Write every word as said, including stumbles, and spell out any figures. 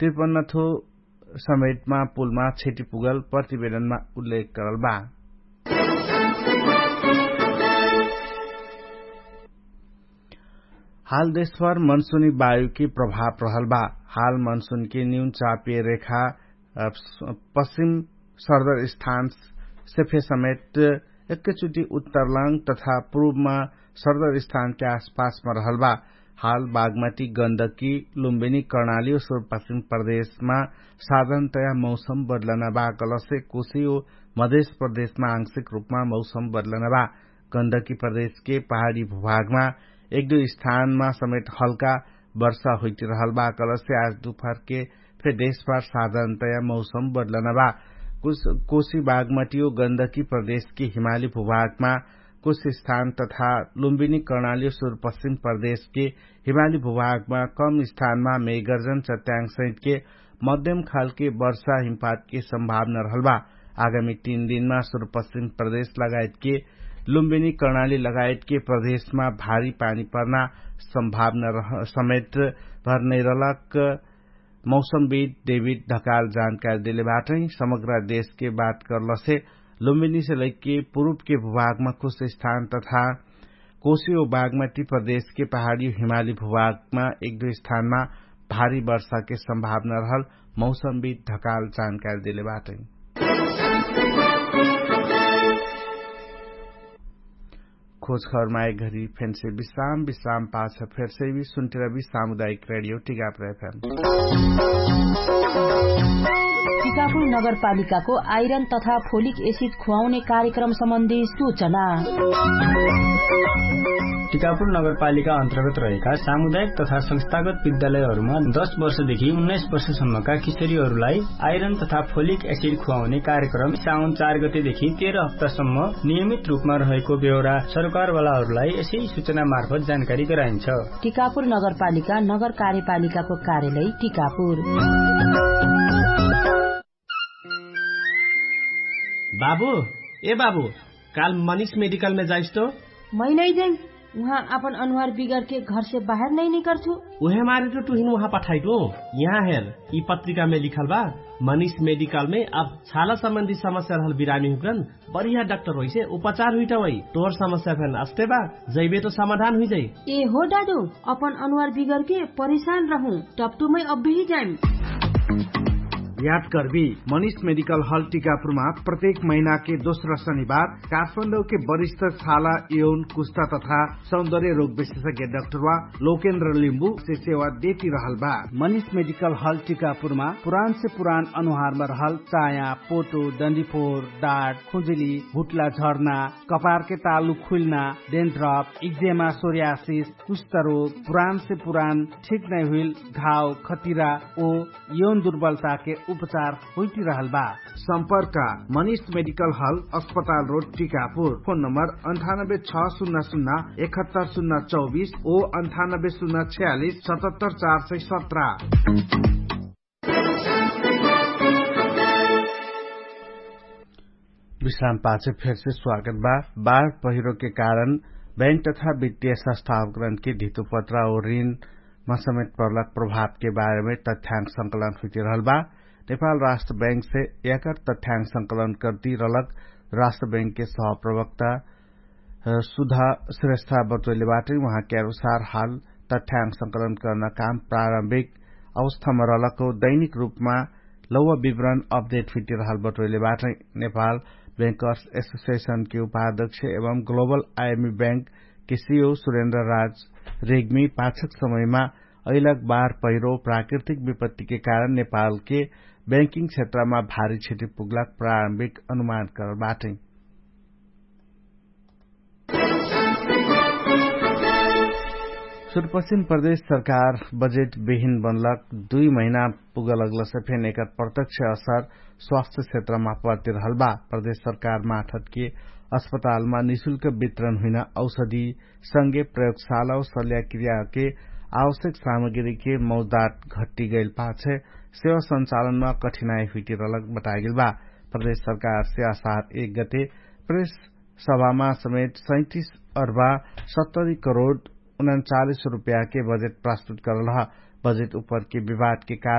त्रिपन्नथो समेटमा पुलमा क्षति पुगल प्रतिवेदनमा उल्लेख करल बा। हाल देशभर मनसुनी वायुकी प्रभाव रहल बा। हाल मनसुनकी न्यून चापिय रेखा पश्चिम सर्दर स्थान सेफे समेट एक्कैचुटी उत्तरलाङ तथा पुरुबमा सर्दर स्थानके आसपासमा रहल बा। हाल बागमती गन्दकी लुम्बिनी कर्णाली और सुरपश्चिम प्रदेशमा साधनतया मौसम बदलना बा। कलसे कोशी और मधेश प्रदेशमा आंशिक रूपमा मौसम बदलना बा। गन्दकी प्रदेशके पहाडी भूभागमा एक दुई स्थानमा समेट हल्का वर्षा हुइटिरहल बा। कलसे आज दुपहरके फेर देशभर साधारणतया मौसम बदलना बा। कोशी बागमतियो गन्दकी प्रदेशके हिमाली भूभागमा कुछ स्थान तथा लुम्बिनी कर्णाली सुरपश्चिम प्रदेशके हिमाली भूभागमा कम स्थानमा मेगर्जन चट्याङसहितके मध्यम खालके वर्षा हिमपातके सम्भावना रहल बा। आगामी तीन दिनमा सुरपश्चिम प्रदेश लगायतके लुम्बिनी कर्णाली लगायतके प्रदेशमा भारी पानी पर्ना सम्भावना समेत भर नैरलक मौसमविद डेभिड ढकाल जानकारी देले बाटै। समग्र देशके बात करलसे लुम्बिनीसे लैके पुरुबके भूभागमा कुछ स्थान तथा कोशी और बागमती प्रदेशके पहाडी हिमाली भूभागमा एक दुई स्थानमा भारी वर्षाके सम्भावना रहल मौसमविद ढकाल जानकारी देले बाटै। खोजखबरमा एक घरी फेन्से विश्राम विश्राम पाछ फेर्से भी सुन्टिरा भी सामुदायिक रेडियो टिकापुर एफएम। टिकापुर नगरपालिकाको आइरन तथा फोलिक एसिड खुवाउने कार्यक्रम सम्बन्धी सूचना। टिकापुर नगरपालिका अन्तर्गत रहेका सामुदायिक तथा संस्थागत विद्यालयहरूमा दस वर्षदेखि उन्नाइस वर्षसम्मका किशोरीहरूलाई आइरन तथा फोलिक एसिड खुवाउने कार्यक्रम साउन चार गतेदेखि तेह्र हप्तासम्म नियमित रूपमा रहेको बेहोरा सरकारवालाहरूलाई यसै सूचना मार्फत जानकारी गराइन्छ। टिकापुर नगरपालिका नगर कार्यपालिकाको कार्यालय टिकापुर। बाबु, ए बाबु, काल मनिष मेडिकलमे जाइस्तो? मै नै जाइस। उहाँ आपन अनुहार बिगरके घरसे बाहेर नै निकर्छु। उहे मारे त टुहिन उहाँ पठाइटु। यहाँ हेर, यि पत्रिकामे लिखल बा, मनिष मेडिकलमे अब छाला सम्बन्धी समस्या रहल बिरामी हुकरन बढिया डाक्टर होइसे उपचार हुइटवै। तोर समस्या फेन अस्ते बा, जैबे त समाधान हुइजै। ए हो डाडु, अपन अनुहार बिगरके परिशान रहु, टप्टुमै अब्बेही जाइम। याद करबी, मनिष मेडिकल हल टिकापुरमा प्रत्येक महिनाके दोस्रा शनिबार काठमाडौके वरिष्ठ छाला यौन कुस्ता तथा सौन्दर्य रोग विशेषज्ञ डाक्टरवा लोकेन्द्र लिम्बु से सेवा देति रहल बा। मनिष मेडिकल हल टिकापुरमा पुरान से पुरान अनुहारमा रहल चाया, पोटो, डन्डिफोर, डाट, खुजुली, हुट्ला झर्ना, कपारके तालु खुइल्ना, डेन्ड्रप, इक्जेमा, सोर्यासिस, कुष्ठरोग, पुरान से पुरान ठिक नै हुइल घाव, खतिरा ओ यौन दुर्बलताके उपचार हुइटिरहल बा। सम्पर्क मनिष मेडिकल हल, अस्पताल रोड, टिकापुर। फोन नम्बर अन्ठानब्बे छ सुन्ना सुन्ना एकहत्तर सुन्ना चौबिस ओ अन्ठानब्बे सुन्ना छयालिस सतहत्तर चार सय सत्र। विश्राम पाछे फेरसे स्वागत बा। बाढ पहिरोके कारण बैंक तथा वित्तीय संस्थावकरणके धितुपत्रा और ऋणमा समेत पर्लक प्रभावके बारेमे तथ्याङ्क संकलन हुइटिरहल बा। नेपाल राष्ट्र बैंकसे याकर तथ्याङ्क संकलन कर्तिरहलक राष्ट्र बैंकके सहप्रवक्ता सुधा श्रेष्ठा बटोइले बाटै। उहाँके अनुसार हाल तथ्याङ्क संकलन कर्ना काम प्रारम्भिक अवस्थामा रहलक दैनिक रूपमा लौवा विवरण अपडेट हुइटिरहल बटोइले बाटै। नेपाल बैंकर्स एसोसिएसनके उपाध्यक्ष एवं ग्लोबल आइएमी बैंकके सिओ सुरेन्द्र राज रेग्मी पाछक समयमा अइलक बार पहिरो प्राकृतिक विपत्तिके कारण नेपालके बैंकिङ क्षेत्रमा भारी क्षति पुग्लक प्रारम्भिक अनुमान करल बाटै। सुरपश्चिम प्रदेश सरकार बजेट विहिन बनलक दुई महिना पुगलगलसे फेन एकर प्रत्यक्ष असर स्वास्थ्य क्षेत्रमा पर्तिरहल बा। प्रदेश सरकार माठतके अस्पतालमा निशुल्क वितरण हुइना औषधि संगे प्रयोगशाला और सल्याक्रियाके आवश्यक सामग्रीके मौजदात घट्टी गैल पाछे सेवा सञ्चालनमा कठिनाई हुइटिरहलक बतागेल बा। प्रदेश सरकारसे असार एक गते प्रेस सभामा समेत सैतिस अर्बा सत्तरी करोड उनन्चालिस रुपयाके बजेट प्रस्तुत करल ह। बजेट उपरके विवादके कारण